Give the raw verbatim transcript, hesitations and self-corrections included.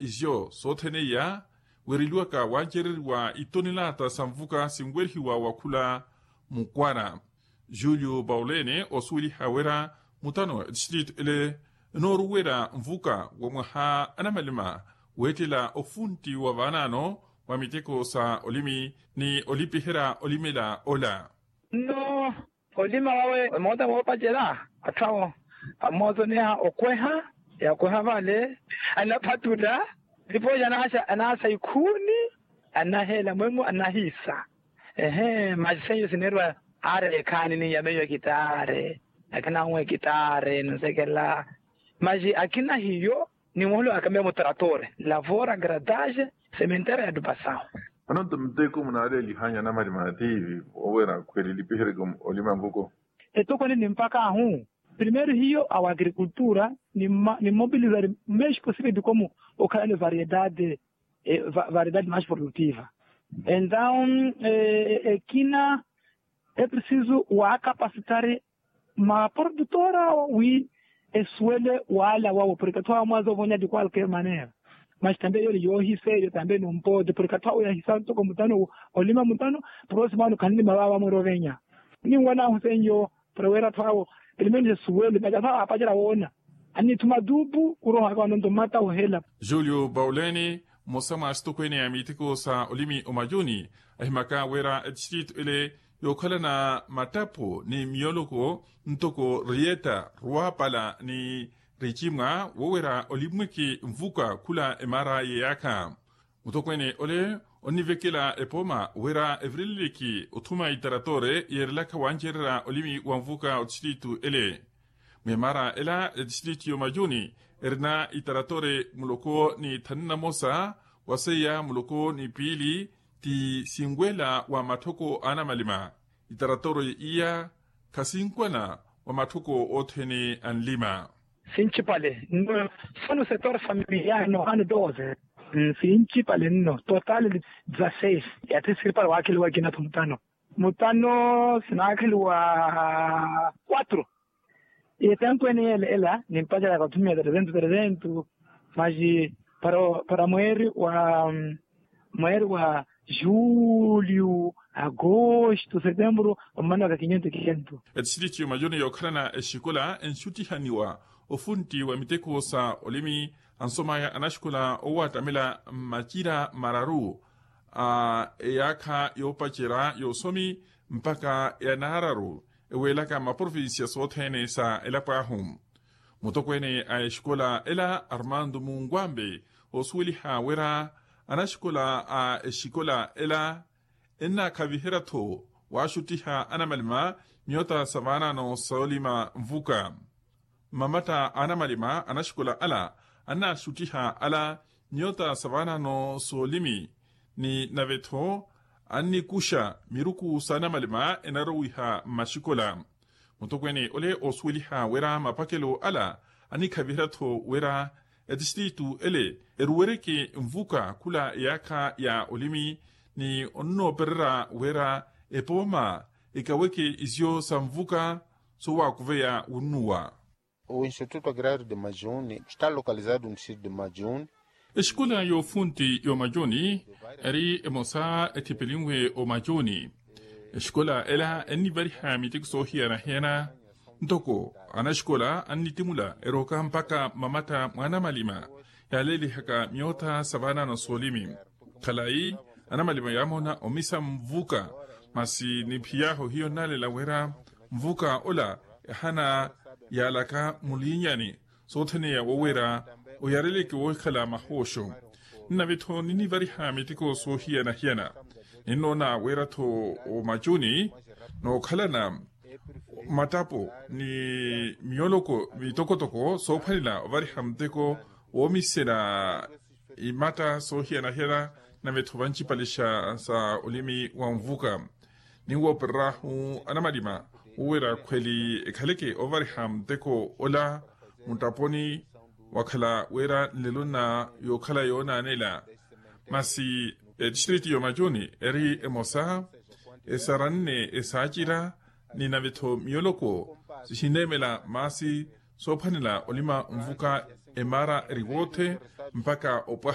Izo sothene iya, wereliwaka wancereriwa itonelata sa nvuka sinwerihiwa wa khula mukwara. Julio paulene osuweliha wira mutano etistritu ele enooruwela nvuka wa mwaha anamalima, weettela ofuntti wa vaanano wa miteko sa olimi ni olipiherya olimela ola. Nno olima wawe emoota moopacela atthu awo amootoneha okweha yakweha vale, anaphatula, nipooca anaasa ikhuuni, anaheela mwemo anahiisa. Ehe masi seiyo sineeriwa aari ekhaani ni yamiyo ekitaari, akina awe ekitaari ninsekela. Masi akina hiyo ni muholo akamiya mutratore lavora gradaje sementera ya dupasaho. Anonto muteko munaaleliha nyana malima atiivi owera akhweli lipihereke olima nvuko. Etokoni ni mpaka ahu primeiro hiyo awa agrikultura ni mmobilizari meshi posivedi komu okhalani variedade variedade mashi produtiva. Entaun ekina eprisizu wakapasitari maprodutora wi esuwele wala wawo porke atthu awo mwaza ovonya di kwalker manera. Masi tambe eyo ni yoohisa eyo tambe ni ompote porke atthu awo yahisa ntoko mutano olima mutano. Prosimo ano khanlima vava mwerovenya ninwanahu seiyo. Para wira atthu awo elimeni sesuwele masi atthu awo aapacela woona annitthu matupu kuroha aka wanonto mmata ohela. Julio pauleni mmosa mwa asitokweene a miteko sa olimi omajuni ahimaka wira etistritu ele yookhalana mattapo ni miyoloko ntoko riyetta ruwapala ni ricimwa wowira olimweke nvuka khula emaara yeyaakha. Mutokweene ole onnivekela epooma wira evireleleke othuma itaratore yeerelaka wancererya olimi wa nvuka otistritu ele. Mwimaara ela etistritu y'omajuni erina itaratore muloko ni thanu na mosa wa seiya muloko ni piili ti sinwela wa matthoko a anamalima. Itaratore iya khasinkwana wa matthoko othene anlima. Sinchipale nno sonu setor familiar no ano doze. Sinchipale nno total dzaseis. Ati siripale waakheliwa ekina tho mutano mutano sinaakheliwa kwatro. Etankweene yela ela nimpaceraka othumia tresentu tresentu. Masi para mweeri wa mweeri wa julio agosto setembro ommana waka kinyentu kinyentu. Etistritu y'omajuni yookhalana exikola enxuttihaniwa ofuntti wa miteko sa olimi ansomaya anaxikola oowattamela mmacira mararu a eyaakha yoopacerya y'osomi mpakha ya naararu eweelaka mmaprovincia sothene sa elapo ahu. Mutokweene a exikola ela armando munkwambe oosuweliha wira anaxikola a exikola ela ennaakhaviherya-tho waaxuttiha anamalima miyota sa vaanano soolima nvuka. Mmamatta a anamalima anaxikola ala annaaxuttiha ala miyota sa vaanano soolimi ni nave-tho annikuxa miruku sa anamalima enarowiha mmaxikola. Mutokweene ole oosuweliha wira mapakelo ala annikhaviherya-tho wira etistritu ele eruwereke nvuka khula eyaakha ya olimi ni onnoopererya wira epooma ekaweke isiyo sa nvuka soowakuveya wunnuwa. O instituto agrario de majuni esta localizado no distrito de majuni. Exikola y'ofuntti y'omajuni eri emosa ethipelinwe omajuni. Exikola ela ennivariha miteko soohiyana-hiyana ntoko anaxikola annittimula erooka mpakha mmamatta mwa anamalima yaaleelihaka miyota sa vaanano soolimi. Khalayi anamalima yaamoona omisa nvuka masi niphiy'ahu hiyo nnaalela wira nvuka ola ehana yaalaka mulinyani soothene ya wowira oyareleke wookhala mahooxo. Nnave-tho ninnivariha miteko soohiyana-hiyana ninnoona wira-tho omachuni nookhalana mattapo ni miyoloko mitokotoko soophwanela ovariha muteko woomisela imatta soohiyana-hiyana. Nave-tho vancipalixa sa olimi wa nvuka ninwoopereryahu anamalima wowira khweli ekhaleke ovariha muteko ola muttaponi wakhala wira nlelo nna yookhala yoonaanela. Masi etistriti y'omachuni eri emosa esaranne esaacira ni nave-tho miyoloko sihineemela maasi soophwanela olima nvuka. emara riwothe mpakha opwa